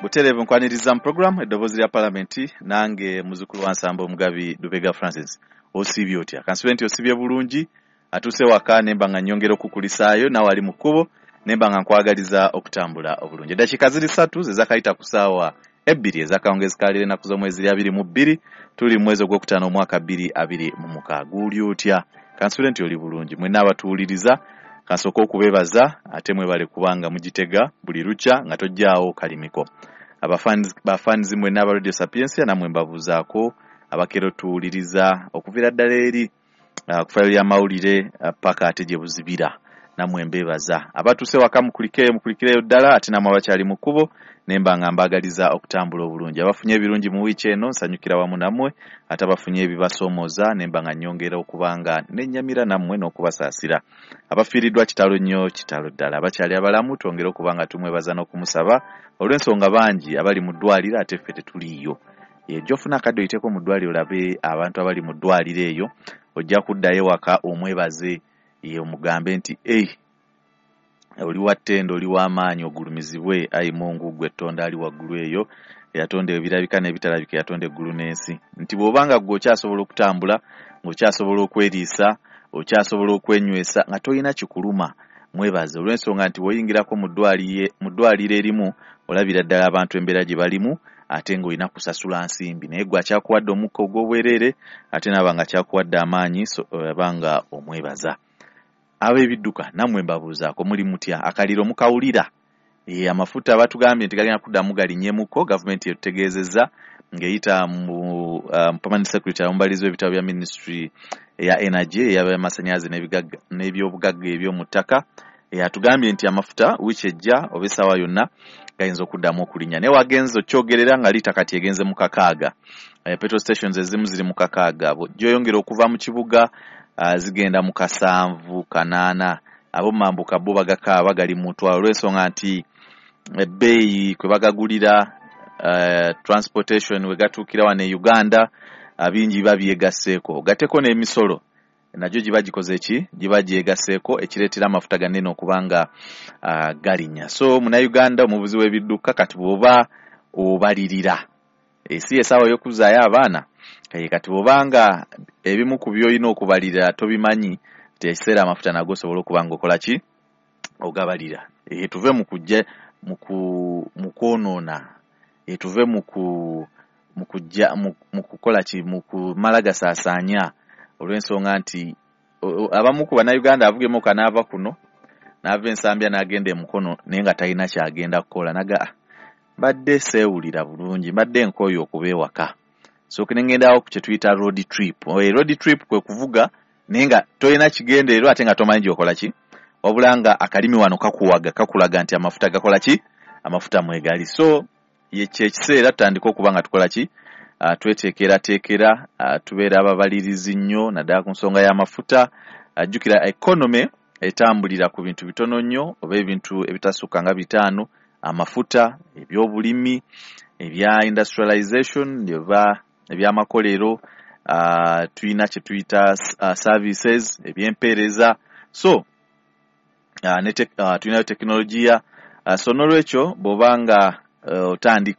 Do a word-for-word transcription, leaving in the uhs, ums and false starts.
Butereevu nkwaniriza mu program Eddoboozi lya Palamenti, nange muzukulu wa Nsamba Omugabi Lubega Francis. Osiibye otya? Kansibe nti osibye bulungi, atuuse waka nemba nga nnyongera okukulisaayo, naawe ali mu kkubo nemba nga nkwagaliza okutambula obulungi. Eddakiika ziri ssatu ze zakayita ku ssaawa ebbiri ez'akawungeezi ka leero, ennaku z'omwezi ziri abiri mu bbiri, tuli mu mwezi ogwokutaano, omwaka bbiri abiri mu mukaaga. Guuli otya? Kansubire nti oli bulungi. Mwenna abatuwuliriza, kansooke okubeebaza, ate mwebale kubanga mugitega buli lukya nga tojjaawo kalimiko. Abafanizi mwenna aba Radio Sapiensia, nammwe mbabuuzaako. Abakero tuwuliriza okuviira ddala eri uh, ku fayiro y'amawulire uh, paka ate gye buzibira, nammwe mbeebaza. Abatuuse waka mukulikeeyo, mukulikireyo ddala, ate nammwe abakyali mu kkubo nemba nga mbaagaliza okutambula obulungi. Abafunye ebirungi mu wiiki eno, nsanyukira wamu nammwe, ate abafunye ebibasoomooza nemba nga nnyongera okuba nga nennyamira nammwe n'okubasaasira. Abafiiriddwa, kitalo nnyo, kitalo ddala. Abakyali abalamu, twongere okuba nga tumwebaza n'okumusaba, olw'ensonga bangi abali mu ddwaliro ate ffe tetuliiyo. Ejja ofuna akadde oyiteko mu ddwaliro, olabe abantu abali mu ddwaliro eyo, ojja kuddayo waka omwebaze, ye omugambe nti, "Ei, oli wa ttendo, oli w'amaanyi, ogulumizibwe ayi Mungu, gwe ettonda ali waggulu eyo, eyatonda ebirabika n'ebitalabika, eyatonda eggulu n'ensi," nti bw'obanga ggwe okyasobola okutambula, ng'okyasobola okweriisa, okyasobola okwenywesa nga tolina kikuluma, mwebaze, olw'ensonga nti bw'oyingirako mu ddwaliro erimu olabira ddala abantu embeera gye balimu, ate ng'olina kusasula nsimbi, naye gwe akyakuwadde omukka ogw'obwereere, ate naaba nga akyakuwadde amaanyi, aba nga omwebaza. Ab'ebidduka nammwe mbabuuzaako, muli mutya? Akaliro mukawulira? E, amafuta batugambye nti gagenda kuddamu galinnyemuko. Gavumenti etutegeezezza ng'eyita mu um, permanent secretary, omubalizi w'ebitabo bya ministry eya energy, ey'amasannyalaze n'ebyobugagga eby'omu ttaka, atugambye nti amafuta wiiki ejja oba essaawa yonna gayinza okuddamu okulinnya. Naye wagenze okyogerera nga liita kati egenze mu kakaaga. Petrol stations ezimu ziri mu kakaaga, gyoyongera okuva mu kibuga uh, zigenda mu kasanvu kanaana. Ab'omumambuka bo bagakaaba gali mu mutwalo, olw'ensonga nti ebbeeyi kwe bagagulira, uh, transportation we gatuukira wano e Uganda, uh, bingi biba byegasseeko, ogatteko n'emisolo nagyo giba gikoze ki, giba gyegasseeko, ekireetera amafuta ganene okuba nga uh, galinnya. So Munnayuganda omuvuzi w'ebidduka, kati bw'oba obalirira, esi essaawa y'okuzaayo abaana, kati bw'obanga ebimu ku by'olina okubalirira tobimanyi, ti ekiseera amafuta nago osobola okuba nga okola ki, ogabalira. E, tuve mu kujja mu kwonoona, e, tuve mu kujja mu kukola ki, mu kumala gasaasaanya, olw'ensonga nti abamu ku Bannayuganda avuga emmotoka n'ava kuno, n'ava Ensambya n'agenda emukono, naye nga talina kyagenda kukola, naga, "Ah, mbadde seewulira bulungi, mbadde nkooye okuba ewaka, so ne ngendawo ku kye tuyita road trip." Road trip kwe kuvuga naye nga tolina kigendererwa, ate nga tomanyi gy'okola ki, wabula nga akalimi wano kakuwaga, kakulaga nti amafuta gakola ki, amafuta mwegali. So kyekiseera tutandike okuba nga tukola ki, uh, tweteekerateekera, uh, tubeera ababalirizi nnyo, naddala ku nsonga y'amafuta. Ajjukira uh, economy etambulira ku bintu bitono nnyo oba ebintu ebitasukka nga bitaano: amafuta, ebyobulimi, ebya industrialization oba ebyamakolero, uh, tulina kye tuyita uh, services, ebyempeereza, so uh, ne uh, tulinayo tekinologiya. uh, so nolwekyo bw'oba nga uh, otandika